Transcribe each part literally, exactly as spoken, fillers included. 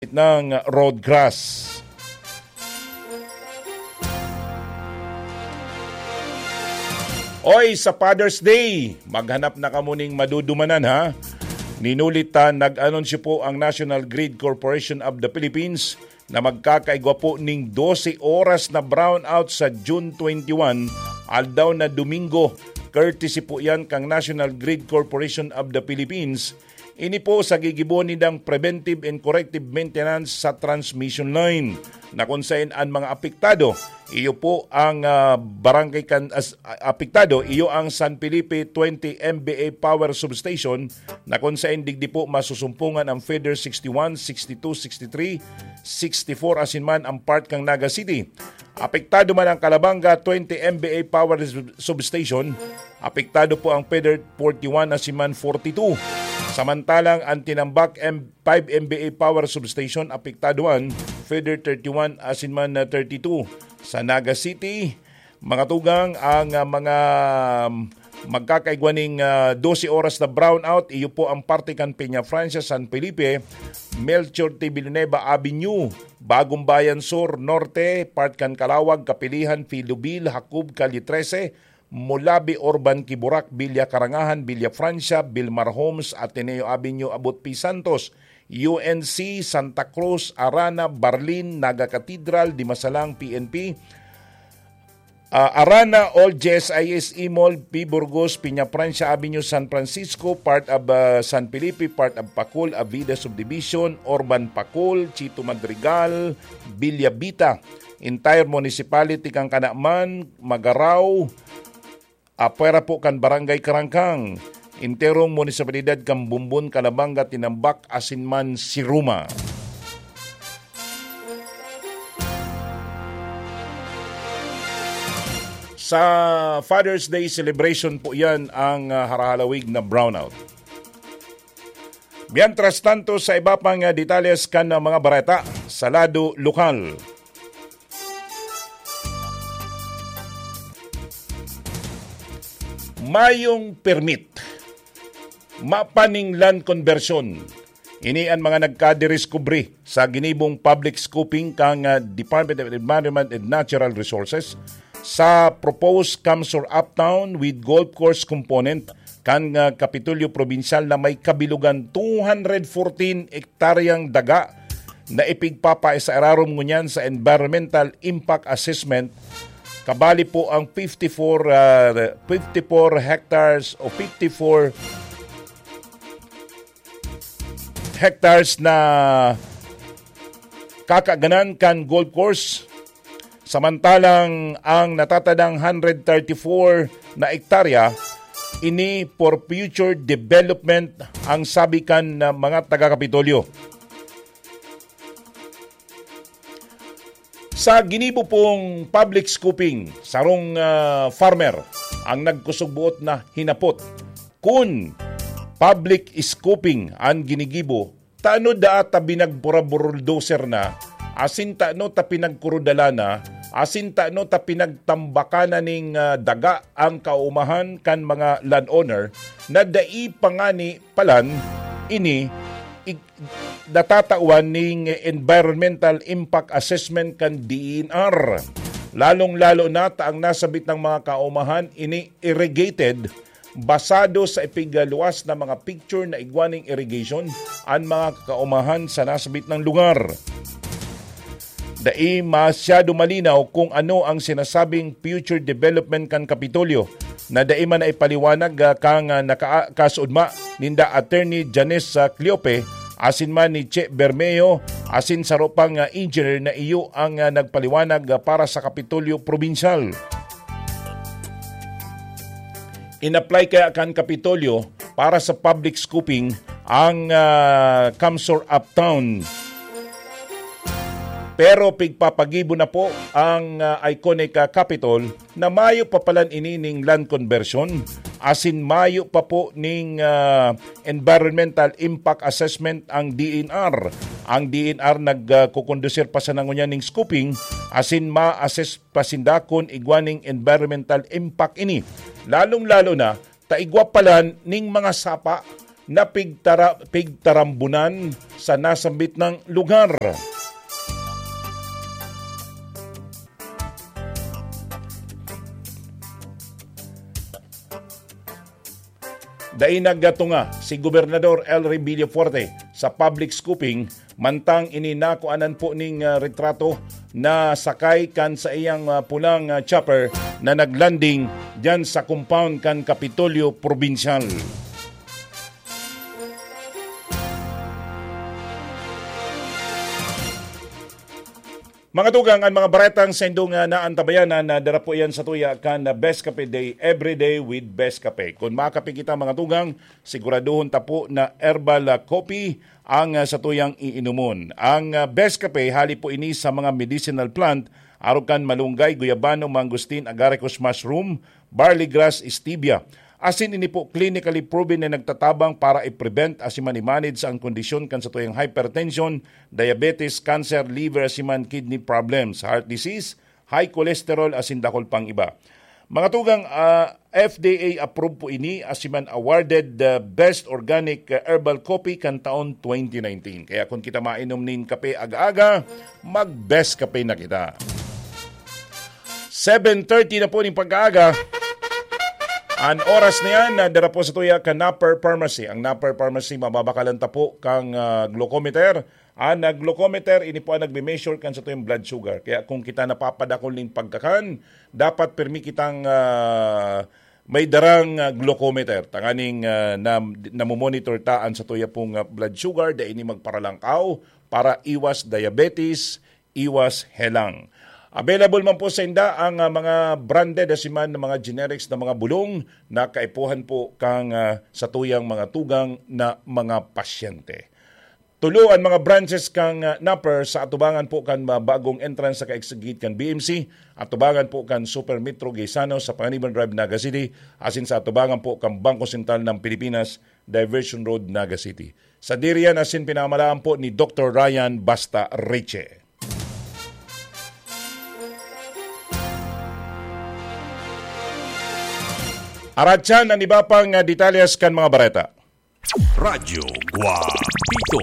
ng road grass. Oy, sa Father's Day, maghanap na kamo ning madudumanan, ha? Ninulit ta, nag-anunsyo po ang National Grid Corporation of the Philippines na magkakaigwa po ning dose oras na brownout sa June twenty-one, aldaw na Domingo. Courtesy po yan kang National Grid Corporation of the Philippines. Ini po sa gigibo nindang preventive and corrective maintenance sa transmission line, na kung saen an mga apektado, iyo po ang, ah, barangay kan-, as-, a-, apektado, iyo ang San Felipe twenty M V A Power Substation, na kung saen digdi po masusumpungan ang feeder sixty-one, sixty-two, sixty-three, sixty-four asin man ang part kang Naga City. Apektado man ang Calabanga twenty M V A Power Sub-, Substation, apektado po ang feeder forty-one asin man forty-two. Samantalang ang Tinambac M-, five M V A Power Substation, apektado man, feeder thirty-one asin man, ah, thirty-two. Sa Naga City, mga tugang, ang, ah, mga, um, magkakaigwa ning, ah, dose oras na brownout, iyo po ang parte kan Peña Francia, San Felipe, Melchor T. Villanueva Avenue, Bagong Bayan Sur, Norte, part kan Calawag, Capilihan, Filo Ville, Jacob, Calle trese, Molabe, Urban Quiborac, Villa Carangahan, Villa Francia, Vilmar Homes, Ateneo Avenue, Abut P. Santos, U N C, Santa Cruz, Arana, Barlin, Naga Cathedral, Dimasalang, P N P, ah, Arana, Old J S I S E Mall, P. Burgos, Peña Francia Avenue, San Francisco, part of, ah, San Felipe, part of Pacol, Avida Subdivision, Urban Pacol, Chito Madrigal, Villa Vita, entire municipality kan Canaman, Magarao, apwera po kan Barangay Karangkang, enterong munisipalidad kan Bumbon, Calabanga, Tinambac, asin man Siruma. Sa Father's Day celebration po yan ang, ah, harahalawig na brownout. Mientras tanto, sa iba pang, ah, detalles kan, ah, mga bareta sa lado lokal. Mayong permit, mapaning land conversion. Ini an mga nagkadiskubre sa ginibong public scoping kan, ah, Department of Environment and Natural Resources sa proposed CamSur Uptown with golf course component kan, ah, Kapitolyo Probinsyal na may kabilugan two hundred fourteen hektaryang daga na ipigpapaisairarom ngunyan sa environmental impact assessment. Kabali po ang fifty-four, ah, fifty-four hectares o fifty-four hectares na kakaganan kan golf course. Samantalang ang natatadang hundred thirty-four na ektarya, ini for future development ang sabi kan, ah, mga taga-Kapitolyo. Sa ginibo pong public scoping, sarong, ah, farmer ang nagkusog buot na hinapot kun public scoping an ginigibo, tano daa ta binagpura-buruldoser na, asin tano ta pinagkurudala na, asin tano ta pinagtambaka na ning, ah, daga ang kaumahan kan mga landowner na dai pa ngani palan ini ig-, natatawan ning environmental impact assessment kan D E N R. Lalong-lalo na ta ang nasabit ng mga kaumahan ini irrigated, basado sa ipigluwas na mga picture na igwa ning irrigation an mga kaumahan sa nasabit ng lugar. Dai masyado malinaw kung ano ang sinasabing future development kan Kapitolyo na dai man naipaliwanag, ah, kan, ah, naka-, kasaudma ninda Attorney Janice, ah, Cleope, asin man ni Che Bermeo, asin saro pang, ah, engineer na iyo ang, ah, nagpaliwanag, ah, para sa Kapitolyo Probinsyal. In-apply kaya kan Kapitolyo para sa public scoping ang, ah, CamSur Uptown. Pero pigpapagibo na po ang, ah, iconic, ah, Capitol na mayo pa palan ini ning land conversion, asin mayo pa po ning, ah, environmental impact assessment ang D E N R. Ang D E N R nag, ah, kukondusir pa sana ngunyan ning scoping, asin ma-assess pa sinda kun igwa ning environmental impact ini. Lalong-lalo na, ta igwa palan ning mga sapa na pigtara-, pigtarambunan sa nasambit na lugar. Dai nagtunga si Gobernador Elry Villafuerte sa public scooping, mantang ini nakuanan po ning, ah, retrato na sakay kan sa iyang, ah, pulang, ah, chopper na naglanding diyan sa compound kan Kapitolyo Probinsyal. Mga tugang, an mga baretang saindong, ah, naantabayanan na dara po iyan satuya kan, ah, Best Cafe Day, Every Day with Best Cafe. Kun makape kita, mga tugang, siguraduhon ta po na herbal, ah, coffee ang, ah, satuyang iinomon. Ang, ah, Best Cafe, hali po ini sa mga medicinal plant, arog kan malunggay, guyabano, mangosteen, agaricus mushroom, barley grass, stevia. Asin ini po clinically proven na nagtatabang para i-prevent asin man i-manage ang kondisyon kan satuyang hypertension, diabetes, cancer, liver, asin man kidney problems, heart disease, high cholesterol, asin dakul pang iba. Mga tugang, ah, F D A approved po ini, asin man awarded the best organic, ah, herbal coffee kan taon twenty nineteen. Kaya kung kita mainom nin kape aga-aga, mag-Best Cafe na kita. Seven thirty na po ning pagkaaga. An oras na yan, na dara po satuya kan Napper Pharmacy. Ang Napper Pharmacy, mababakalan ta po kang, ah, glucometer. An, ah, glucometer, ini po ang nagme-measure kan satuyang blood sugar. Kaya kung kita napapadakul ning pagkakan, dapat pirmi kitang, ah, may darang, ah, glucometer. Tanganing, ah, na, namomonitor ta an satuya pong, ah, blood sugar, dai ini magparalangkaw para iwas diabetes, iwas helang. Available man po sa inda ang, ah, mga branded asin man mga generics na mga bulong na kaipuhan po kang, ah, satuyang mga tugang na mga pasyente. Tulo an mga branches kang, ah, Napper sa atubangan po kan, ah, bagong entrance sa ka-exit gate kan B M C, atubangan po kan Super Metro Gaisano sa Panganiban Drive, Naga City, asin sa atubangan po kan Bangko Sentral ng Pilipinas, Diversion Road, Naga City. Sadiri yan asin pinamalaan po ni Doktor Ryan Basta Riche. Aratyan an iba pang, ah, detalyes kan mga bareta. Radyo Guapito.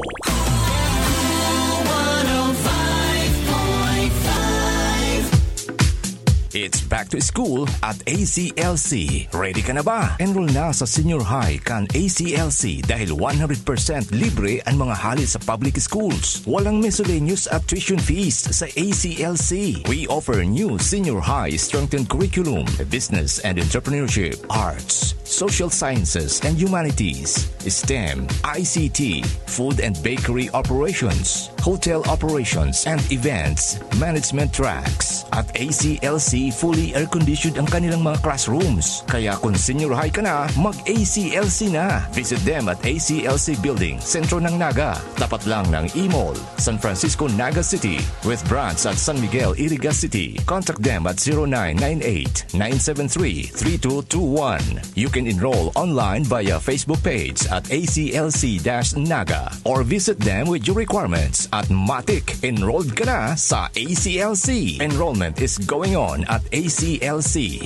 It's back to school at A C L C. Ready ka na ba? Enroll na sa senior high kan A C L C dahil one hundred percent libre ang mga hali sa public schools. Walang miscellaneous at tuition fees sa A C L C. We offer new senior high strengthened curriculum, business and entrepreneurship, arts, social sciences and humanities, STEM, I C T, food and bakery operations, hotel operations and events management tracks. At A C L C, fully air-conditioned ang kanilang mga classrooms. Kaya kung senior high ka na, mag-A C L C na. Visit them at A C L C Building, sentro ng Naga, tapat lang ng E-Mall, San Francisco, Naga City, with branch at San Miguel, Iriga City. Contact them at zero nine nine eight, nine seven three, three two two one. You can enroll online via Facebook page at A C L C dash Naga or visit them with your requirements at matik, enrolled ka na sa A C L C. Enrollment is going on at A C L C.